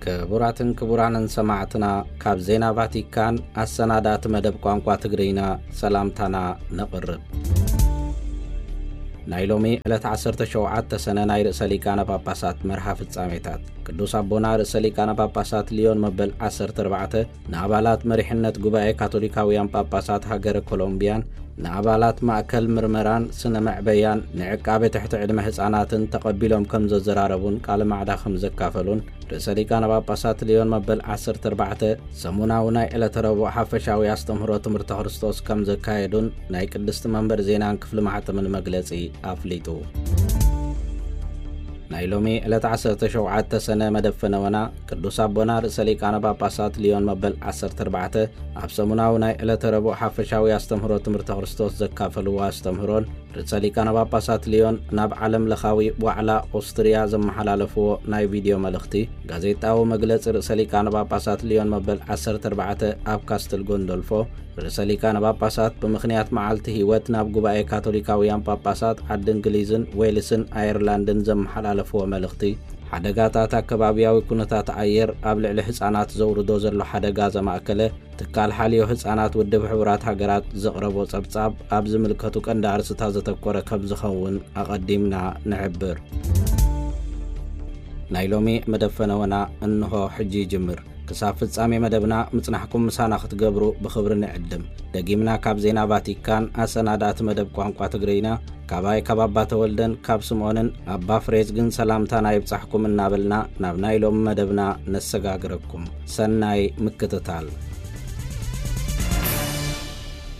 ክቡራትን ክቡራንን ሰማዕትና፣ ካብ ዜና ቫቲካን ኣሰናዳእቲ መደብ ቋንቋ ትግርኛ ሰላምታና ነቕርብ። ናይ ሎሚ ዕለት ዓሰርተ ሸውዓተ ሰነ ናይ ርእሰ ሊቃነ ጳጳሳት መርሃ ፍጻሜታት። ቅዱስ ኣቦና ርእሰ ሊቃነ ጳጳሳት ሊዮን መበል ዓሰርተ ኣርባዕተ ንኣባላት መሪሕነት ጉባኤ ካቶሊካውያን ጳጳሳት ሃገረ ኮሎምቢያን ንኣባላት ማእከል ምርመራን ስነ መዕበያን ንዕቃበ ትሕቲ ዕድመ ህጻናትን ተቐቢሎም ከም ዘዘራረቡን ቃለ ማዕዳ ከም ዘካፈሉን ርእሰ ሊቃነ ጳጳሳት ሊዮን መበል ዓሰርተ ኣርባዕተ ሰሙናዊ ናይ ዕለተ ረቡዕ ሓፈሻዊ ኣስተምህሮ ትምህርተ ክርስቶስ ከም ዘካየዱን ናይ ቅድስቲ መንበር ዜናን ክፍሊ ማሕተምን መግለጺ ኣፍሊጡ። ናይ ሎሚ ዕለት ዓሰርተ ሸውዓተ ሰነ መደብ ፈነወና ቅዱስ ኣቦና ርእሰ ሊቃነ ጳጳሳት ሊዮን መበል ዓሰርተ ኣርባዕተ ኣብ ሰሙናዊ ናይ ዕለተ ረቡዕ ሓፈሻዊ ኣስተምህሮ ትምህርተ ክርስቶስ ዘካፈልዎ ኣስተምህሮን ርእሰ ሊቃነ ጳጳሳት ሊዮን ናብ ዓለም ለኻዊ ዋዕላ ኦስትርያ ዘመሓላለፍዎ ናይ ቪድዮ መልእኽቲ ጋዜጣዊ መግለጺ ርእሰ ሊቃነ ጳጳሳት ሊዮን መበል ዓሰርተ ኣርባዕተ ኣብ ካስትል ጎንዶልፎ ርእሰ ሊቃነ ጳጳሳት ብምኽንያት መዓልቲ ህይወት ናብ ጉባኤ ካቶሊካውያን ጳጳሳት ዓዲ እንግሊዝን ዌልስን ኣየርላንድን ዘመሓላለፍዎ መልእኽቲ ሓደጋታት ኣከባቢያዊ ኩነታት ኣየር ኣብ ልዕሊ ህጻናት ዘውርዶ ዘሎ ሓደጋ ዘማእከለ ትካል ሓልዮ ህጻናት ውድብ ሕቡራት ሃገራት ዘቕረቦ ጸብጻብ ኣብ ዝምልከቱ ቀንዲ ኣርእስታት ዘተኮረ ከም ዝኸውን ኣቐዲምና ንሕብር። ናይ ሎሚ መደብ ፈነወና እንሆ ሕጂ ይጅምር። ክሳብ ፍጻሜ መደብና ምጽናሕኩም ምሳና ክትገብሩ ብኽብሪ ንዕድም። ደጊምና ካብ ዜና ቫቲካን ኣሰናዳእቲ መደብ ቋንቋ ትግርኛ ካባይ ካብ ኣባ ተወልደን ካብ ስምኦንን ኣባ ፍሬዝግን ሰላምታና ይብጻሕኩም እናበልና ናብ ናይ ሎሚ መደብና ነሰጋግረኩም። ሰናይ ምክትታል።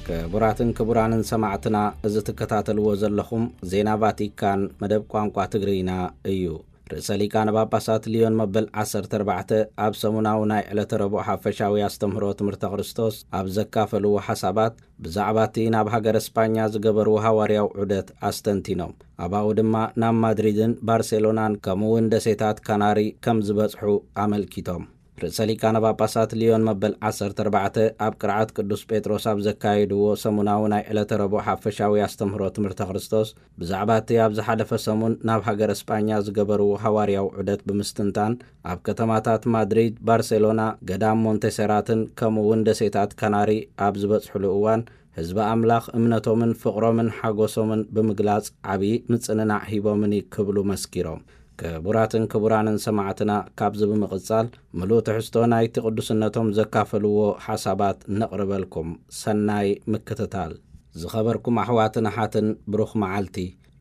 ክቡራትን ክቡራንን ሰማዕትና፣ እዚ ትከታተልዎ ዘለኹም ዜና ቫቲካን መደብ ቋንቋ ትግርኛ እዩ። ርእሰ ሊቃነ ጳጳሳት ሊዮን መበል ዓሰርተ ኣርባዕተ ኣብ ሰሙናዊ ናይ ዕለተ ረቡዕ ሓፈሻዊ ኣስተምህሮ ትምህርተ ክርስቶስ ኣብ ዘካፈልዎ ሓሳባት ብዛዕባ እቲ ናብ ሃገረ ስጳኛ ዝገበርዎ ሃዋርያዊ ዑደት ኣስተንቲኖም። ኣባኡ ድማ ናብ ማድሪድን ባርሴሎናን ከምኡ እውን ደሴታት ካናሪ ከም ዝበጽሑ ኣመልኪቶም። ርእሰ ሊቃነ ጳጳሳት ሊዮን መበል ዓሰርተ ኣርባዕተ ኣብ ቅርዓት ቅዱስ ጴጥሮስ ኣብ ዘካየድዎ ሰሙናዊ ናይ ዕለተ ረቡዕ ሓፈሻዊ ኣስተምህሮ ትምህርተ ክርስቶስ ብዛዕባ እቲ ኣብ ዝሓለፈ ሰሙን ናብ ሃገረ ስጳኛ ዝገበርዎ ሃዋርያዊ ዑደት ብምስትንታን ኣብ ከተማታት ማድሪድ፣ ባርሴሎና፣ ገዳም ሞንቴሴራትን ከምኡ እውን ደሴታት ካናሪ ኣብ ዝበጽሕሉ እዋን ህዝቢ ኣምላኽ እምነቶምን ፍቕሮምን ሓጎሶምን ብምግላጽ ዓብዪ ምጽንናዕ ሂቦምኒ ክብሉ መስኪሮም። ክቡራትን ክቡራንን ሰማዕትና፣ ካብዚ ብምቕጻል ምሉእ ትሕዝቶ ናይቲ ቅዱስነቶም ዘካፈልዎ ሓሳባት ነቕርበልኩም። ሰናይ ምክትታል። ዝኸበርኩም ኣሕዋትን ኣሓትን፣ ብሩኽ መዓልቲ።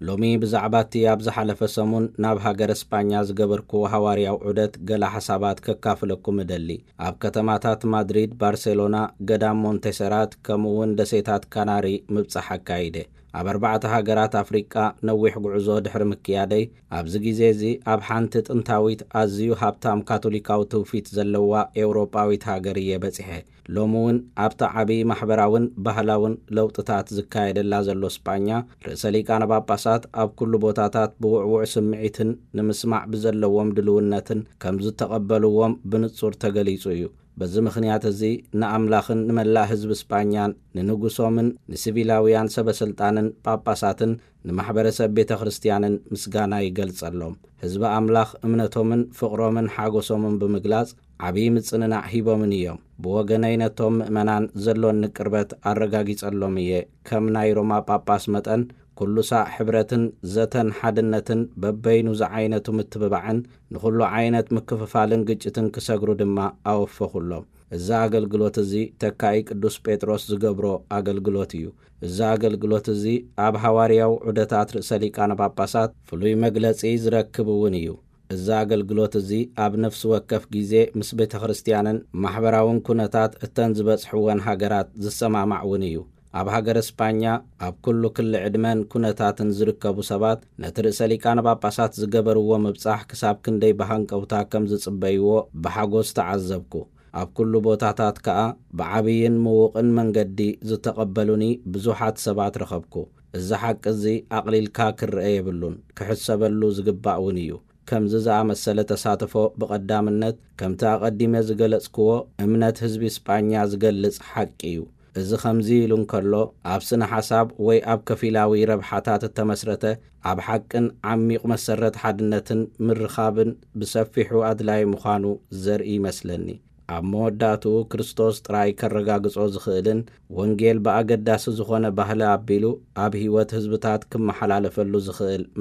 ሎሚ ብዛዕባ እቲ ኣብ ዝሓለፈ ሰሙን ናብ ሃገረ ስጳኛ ዝገበርክዎ ሃዋርያዊ ዑደት ገለ ሓሳባት ከካፍለኩም እደሊ። ኣብ ከተማታት ማድሪድ፣ ባርሴሎና፣ ገዳም ሞንቴሰራት ከምኡ እውን ደሴታት ካናሪ ምብጻሕ ኣካይደ። ኣብ ኣርባዕተ ሃገራት ኣፍሪቃ ነዊሕ ጉዕዞ ድሕሪ ምክያደይ፣ ኣብዚ ግዜ እዚ ኣብ ሓንቲ ጥንታዊት ኣዝዩ ሃብታም ካቶሊካዊ ትውፊት ዘለዋ ኤውሮጳዊት ሃገር እየ በጺሐ። ሎሚ እውን ኣብቲ ዓቢ ማሕበራውን ባህላውን ለውጥታት ዝካየደላ ዘሎ ስጳኛ፣ ርእሰ ሊቃነ ጳጳሳት ኣብ ኩሉ ቦታታት ብውዕዉዕ ስምዒትን ንምስማዕ ብዘለዎም ድልውነትን ከም ዝተቐበልዎም ብንጹር ተገሊጹ እዩ። በዚ ምኽንያት እዚ ንኣምላኽን ንመላእ ህዝቢ ስጳኛን ንንጉሶምን ንሲቪላውያን ሰበ ስልጣንን ጳጳሳትን ንማሕበረሰብ ቤተ ክርስትያንን ምስጋና ይገልጸሎም። ህዝቢ ኣምላኽ እምነቶምን ፍቕሮምን ሓጎሶምን ብምግላጽ ዓብዪ ምጽንናዕ ሂቦምን እዮም። ብወገነይ ነቶም ምእመናን ዘሎኒ ቅርበት ኣረጋጊጸሎም እየ። ከም ናይ ሮማ ጳጳስ መጠን ኩሉ ሳዕ ሕብረትን ዘተን ሓድነትን በበይኑ ዝዓይነቱ ምትብባዕን ንኹሉ ዓይነት ምክፍፋልን ግጭትን ክሰግሩ ድማ ኣወፈኹሎም። እዚ ኣገልግሎት እዚ ተካኢ ቅዱስ ጴጥሮስ ዝገብሮ ኣገልግሎት እዩ። እዚ ኣገልግሎት እዚ ኣብ ሃዋርያዊ ዑደታት ርእሰ ሊቃነ ጳጳሳት ፍሉይ መግለጺ ዝረክብ እውን እዩ። እዚ ኣገልግሎት እዚ ኣብ ነፍሲ ወከፍ ግዜ ምስ ቤተ ክርስትያንን ማሕበራውን ኩነታት እተን ዝበጽሕወን ሃገራት ዝሰማማዕ እውን እዩ። ኣብ ሃገረ ስጳኛ ኣብ ኩሉ ክሊ ዕድመን ኩነታትን ዝርከቡ ሰባት ነቲ ርእሰ ሊቃነ ጳጳሳት ዝገበርዎ ምብጻሕ ክሳብ ክንደይ ብሃንቀውታ ከም ዝጽበይዎ ብሓጎስ ተዓዘብኩ። ኣብ ኩሉ ቦታታት ከኣ ብዓብይን ምዉቕን መንገዲ ዝተቐበሉኒ ብዙሓት ሰባት ረኸብኩ። እዚ ሓቂ እዚ ኣቕሊልካ ክረአ የብሉን፣ ክሕሰበሉ ዝግባእ እውን እዩ። ከምዚ ዝኣመሰለ ተሳትፎ ብቐዳምነት ከምቲ ኣቐዲመ ዝገለጽክዎ እምነት ህዝቢ ስጳኛ ዝገልጽ ሓቂ እዩ። እዚ ኸምዚ ኢሉ እንከሎ፣ ኣብ ስነ ሓሳብ ወይ ኣብ ከፊላዊ ረብሓታት እተመስረተ፣ ኣብ ሓቅን ዓሚቕ መሰረት ሓድነትን ምርኻብን ብሰፊሑ ኣድላዪ ምዃኑ ዘርኢ ይመስለኒ። ኣብ መወዳእትኡ ክርስቶስ ጥራይ ከረጋግጾ ዝኽእልን ወንጌል ብኣገዳሲ ዝኾነ ባህሊ ኣቢሉ ኣብ ህይወት ህዝብታት ክመሓላለፈሉ ዝኽእል